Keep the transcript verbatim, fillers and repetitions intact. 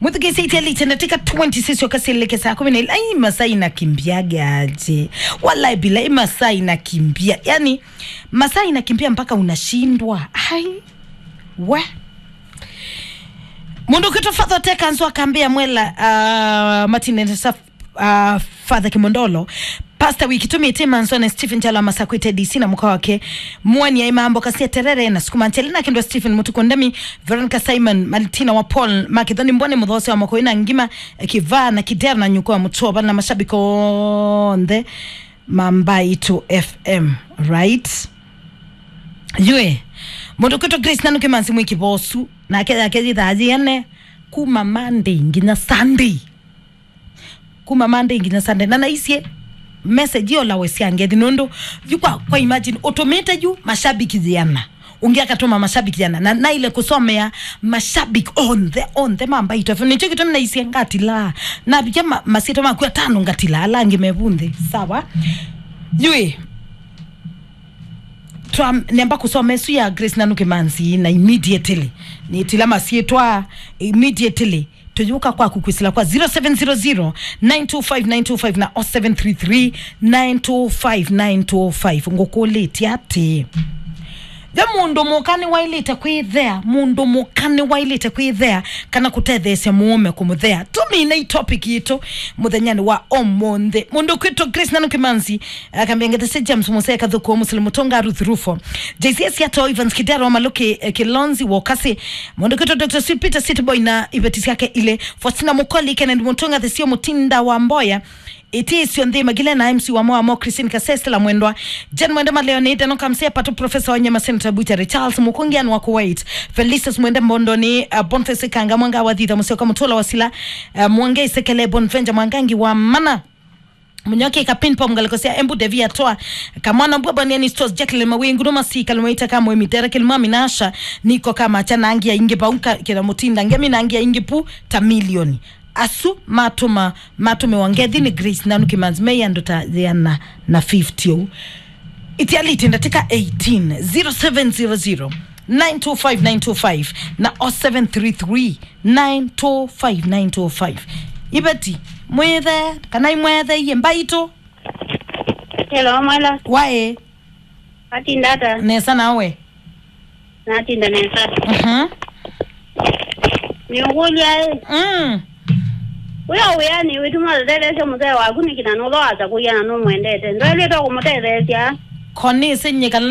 Mwĩthukĩĩsye itialĩte ndatĩka twenty sisyoka syĩlĩke saa kumi na ilĩ. Ai, masaa inakimbia aje. Walai bilai, masaa inakimbia. Yani, masaa inakimbia mpaka unashindwa. Ai, we. Mũndũ kwĩtwa Father Tekanzo akambĩa mwela, uh, Martin Saf-, uh, Father Kimondolo, Pastor Wiki Tumi Timanson, Stephen Chala Masakwite D C na mũka wake, Mwani ya Imambo Kasia Terere na Sukuma Nchele na Kendwa Stephen Mutuku Ndemi, Veronica Simon, Martina wa Paul, Makithoni Mbone, Muthosi wa Mokoi na Ngima, Kivaa na Kidera na Nyuko wa Mutoba na mashabiki onthe ma Mbaitu F M, right? Yue, mũndũ kwĩtwa Grace Nanuke Mansi mwĩki bosu, nake yake yithaa yene, kuma Monday nginya Sunday. Kuma Monday nginya Sunday. Na naisye message yo lawe sya ngethi nũndũ yu kwa, kwa imagine, ũtũmĩte yu mashabiki yĩana. Ũngĩ akatũma mashabiki yĩana. Na naile kũsomea mashabiki onthe, onthe ma Mbaitu F M. Nĩkyo kĩtũmi naisye ngatilaa. Navikia ma-, masyĩtwa maku atano ngatilaa, ala angĩ me vu nthĩ. Sawa? Yui. Twa, nemba kũsoma ĩsu ya Grace Nanuke Mansi na immediately. Nĩtila masyĩtwa immediately. Tũyũka kwaku kwĩsĩla kwa zero seven zero zero, nine two five, nine two five na oh seven three three, nine two five, nine two five. Ngũkũlĩtye atĩĩ, ve mũndũ mũka nĩwaĩlĩte kwĩthea, mũndũ mũka nĩwaĩlĩte kwĩthea kana kũtetheesya mũũme kũmũthea? Tũminei topic yitũ mũthenyanĩ wa ũmũnthĩ. Mũndũ kwĩtwa Grace Nanuke Mansi, akambĩa ngethe sya James Musee Kathũkũ, Musili Mũtũnga, Ruth Rufo, J C S Yato, Evans Kidero, Maluki, eh, Kilonzi Wokasi, mũndũ kwĩtwa Doctor Sweet Peter City Boy na iveti syake ilĩ, Faustina Mukoli, Kennedy Mutunga, Thesio Mutinda wa Mboya, Ĩtĩsyo Nthĩ Magile na M C wa Moamo, Christine Kasesela Mwendwa, Jen Mwende Maleo nĩ Deno Kamsea Patu, Professor wa Nyama, Senator Butchery, Charles Mukungian wa Kuwait, Felicius Mwende Mbondoni, uh, Boniface Kanga Mwanga wa Thitha, Musyoka Mutula wa Sila, uh, Mwangei Sekele, Bonvenja Mwangangi wa Mana. Munyoke ka ping pong ngaleko sya Embu Devi atoa. Kamwana mbua bani ani stores Jacqueline Mawingu no masi kalumwa ita kamwe mitera kilima minasha niko kama cha nangi ya ingi bauka kila mutinda ngemi nangi ya ingi pu ta milioni. Asu matuma, matume wa ngethi ni Grace Nanuke Mansi me ya ndota ya na, na fifty u. Itialite ndatĩka eighteen, zero seven zero zero, nine two five, nine two five na oh seven three three, nine two five, nine two five. Iveti, mwĩthe, kana imwetheie Mbaitu? Hello, Mwela. Waĩ? Atinda ata? Nesa nawe? Natinda nesa. Mhm. Nĩũkũlya ĩ? Mm. Wĩ o wĩanĩ wĩtuma ũtetheesya mũthee waku nĩkĩ na nũtho asa kũia na nũmwendete? Ndwaĩlĩte kũmũtetheesya? Konĩsĩ nyĩkala